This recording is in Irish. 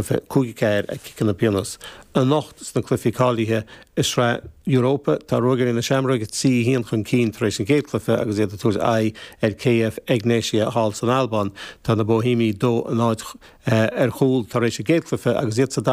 Cluiche 5-4 ag ciceanna pionóis. Anocht sna cluichí cáilithe i Sraith Europa, tá Ruagairí na Seamróige 3-1 chun cinn tar éis an chéad chluiche agus iad ag tabhairt aghaidh ar KF Egnatia thall san Albáin. Tá na Boihéamaigh 2-0 ar chúl tar éis an gcéad chluiche agus iad sa.